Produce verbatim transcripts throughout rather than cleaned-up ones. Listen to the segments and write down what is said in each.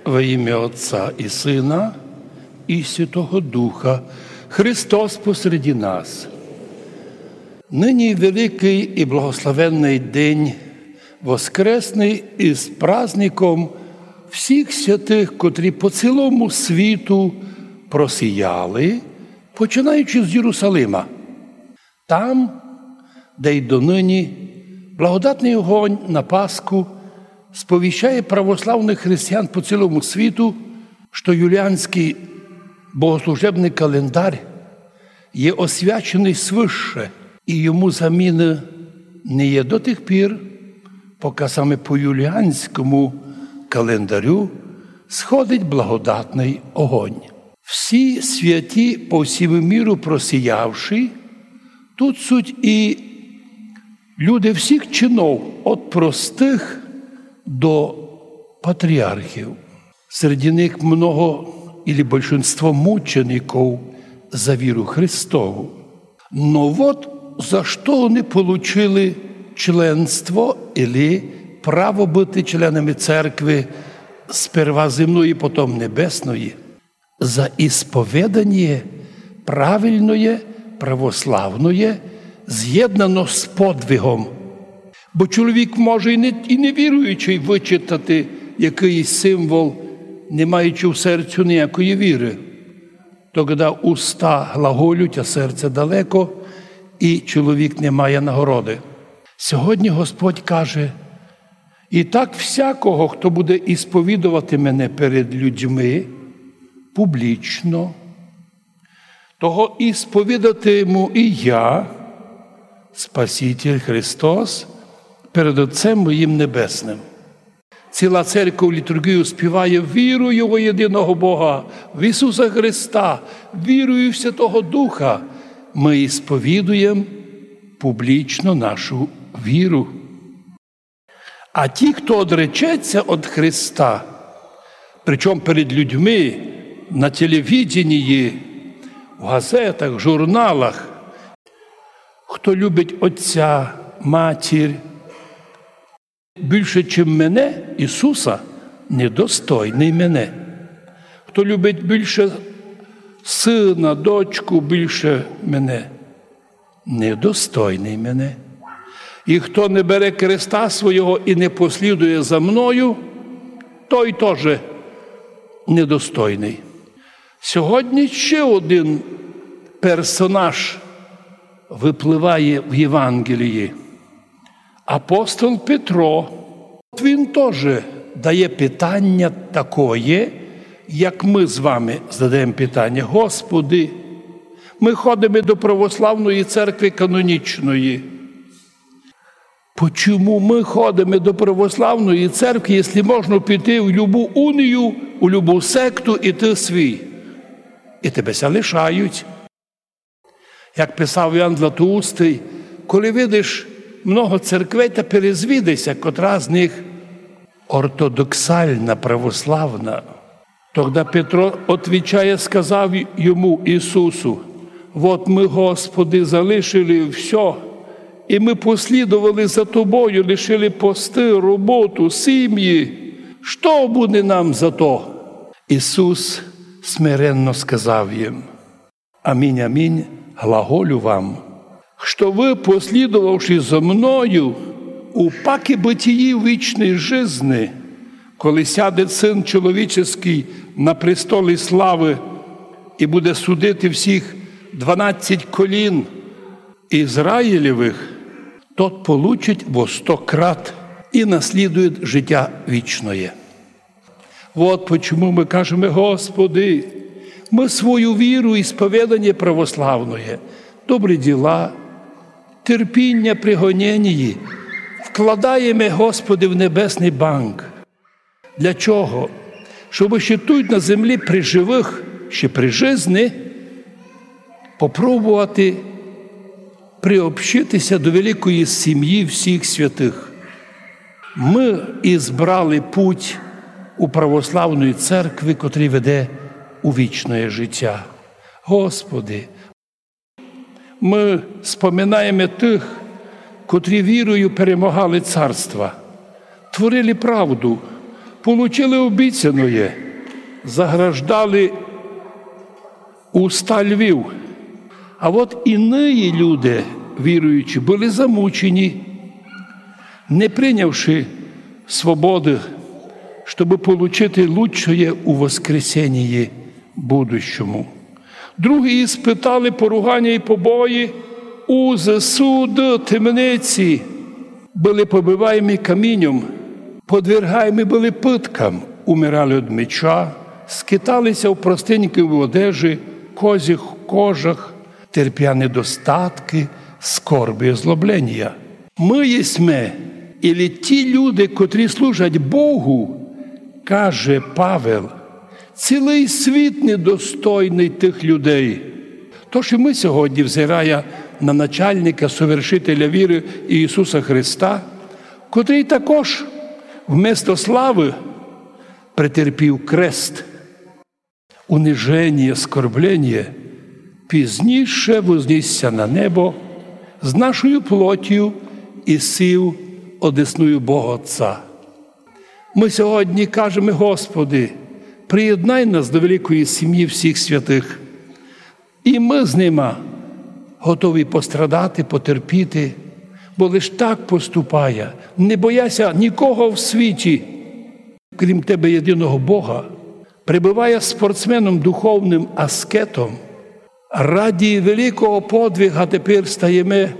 Во имя Отца и Сына и Святого Духа. Христос посреди нас. Нині великый и благословенный день воскресный из праздником всіх святых, котрі по цілому світу просіяли, починаючи з Єрусалима. Там, де й донині, благодатный огонь на Пасху сповіщає православных християн по цілому світу, што юліанськый богослужебный календар є освяченый свыше, і йому заміны не є до тих пір, поки саме по юліанському календарю сходить благодатный огонь. Всі святі по всьому миру просіявші, тут суть і люди всіх чинов, от простых до патріархів. Серед них много или большинство мучеников за віру Христову. Но вот за што они получили членство или право быти членами церкви сперва земної, потом небесної. За ісповіданіє правильноє, православноє, зєднано з подвигом. Бо чоловік може і не, і не віруючый вычитати якыйсь символ, не маючи в серцю ніякої віры. Тогда уста глаголють, а серце далеко, і чоловік не має нагороды. Сьогодні Господь каже: «І так всякого, хто буде ісповідовати мене перед людьми публічно, того ісповідатиму і я, Спаситель Христос, перед Отцем моїм Небесным». Ціла церков літурґію співає: «Вірую во єдиного Бога, в Ісуса Христа, вірую в Святого Духа». Мы ісповідуєм публічно нашу віру. А ті, хто одречеться од Христа, причому перед людьми, на телевиденії, в газетах, журналах, хто любить отця, матір більше, чим мене, Ісуса, недостойный мене. Хто любить більше сына, дочку більше мене, недостойный мене. І хто не бере креста свого і не послідує за мною, той тоже недостойный. Сьогодні ще один персонаж выпливає в Євангелії. Апостол Петро. Він тоже дає питання такоє, як мы з вами задаєме питання: «Господи, мы ходиме до православної церкви канонічної. Почому мы ходиме до православної церкви, якщо можна піти в любу унію, у любу секту і ты свій?» І тебе ся лишають. Як писав Іоанн Златоустый: «Коли видиш много церквей, та перезвідай ся, котра з них ортодоксальна, православна». Тогда Петро, отвічає, сказав йому, Ісусу: «Вот мы, Господи, залишили всьо, і мы послідовали за Тобою, лишили посты, роботу, сімї. Што буде нам за то?» Ісус смиренно сказав їм: «Аминь, аминь, глаголю вам, што вы, послідовавши за мною, у паки бытії вічної жизни, коли сяде Сын Чоловіческий на престолі славы і буде судити всіх дванадцять колін Ізраїлевых, тот получить во сто крат і наслідує життя вічноє». Вот почему мы кажеме: «Господи, мы свою віру, ісповіданіє православноє, добрі діла, терпіня при гоненії вкладаєме, Господи, в небесный банк». Для чого? Щоб ще тут на землі при живых, ще при жизни, попробовати приобщити ся до великої сімї всіх святых. Мы ізбрали путь у православної церкви, котрий веде у вічноє життя. Господи, мы споминаєме тых, котрі вірою перемогали царства, творили правду, получили обіцяноє, заграждали уста львів. А от іні люди, віруючі, были замучені, не принявши свободы, щобы получити лучшоє у воскресенії будущому. Другі испытали поруганя і побої у з-, суд, темниці, были побиваємі каміньом, подвергаємі были пыткам, умирали од меча, скитали ся в простенькій одежі, козьих кожах, терпя недостаткы, скорби, озлобленія. Мы єсме, ілі ті люди, котрі служать Богу, каже Павел, цілый світ недостойный тых людей. Тож і мы сьогодні, взирая на начальника, совершителя віры Ісуса Христа, котрый також вместо славы претерпів крест, униженіє, оскорбленіє, пізніше вознісся на небо з нашою плотю і сів одесную Бога Отця. Мы сьогодні кажеме: Господи, приєднай нас до великої сімї всіх святых. І мы з нима готові пострадати, потерпіти, бо лиш так поступає, не бояся нікого в світі, крім Тебе, єдиного Бога. Пребыває спортсменом, духовным аскетом. Ради великого подвига тепер стаєме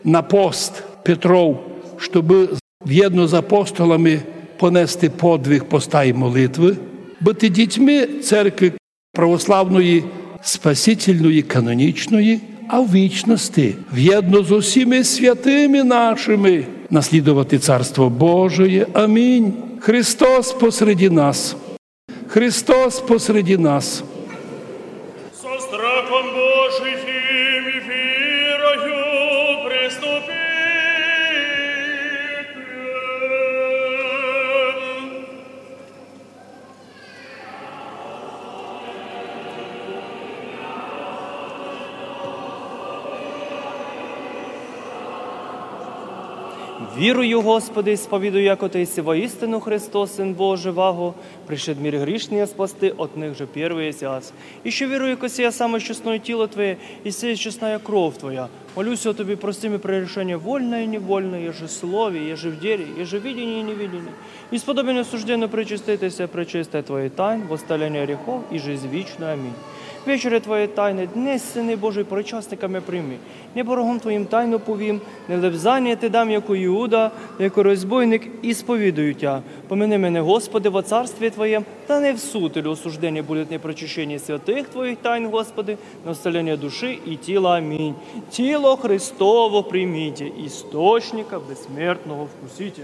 на пост Петров, щобы вєдно з апостолами понести подвиг поста і молитвы, быти дітьми церкви православної, спасительної, канонічної, а в вічности вєдно з усіми святыми нашыми наслідовати Царство Божоє. Амінь. Христос посреди нас. Христос посреди нас. Со страхом Божиим и вірою приступите. Вірую, Господи, и сповідую, яко Ты єси воістину Христос, Син Божий, ваго пришед мир грішный спасти, от них же первый єси аз. И ще вірую, яко сія саме чесноє тіло Твоє, и сія чесная кров Твоя. Молю ся о Тобі, прости ми прегрішеня вольне и невольне, єже в слові, єже в ділі, єже в видінї и невидінї. И сподоби несужденно причастити ся пречистая Твоїх тайн, восставлення гріхов и жизнь вічну. Амінь. Вечеря Твоєї тайны днесь, Сине Божий, причасниками прийми. Неборогом Твоїм тайну повім, не лебзаня Ти дам, яко Иуда, яко розбойник, и сповідую Тя. Помини мене, Господи, во царстві Твоєм, та не в суд, или осуждение будет непричащение святых Твоїх тайн, Господи, но исцеление души и тела. Аминь. Тіло Христово примите, источника бессмертного вкусите.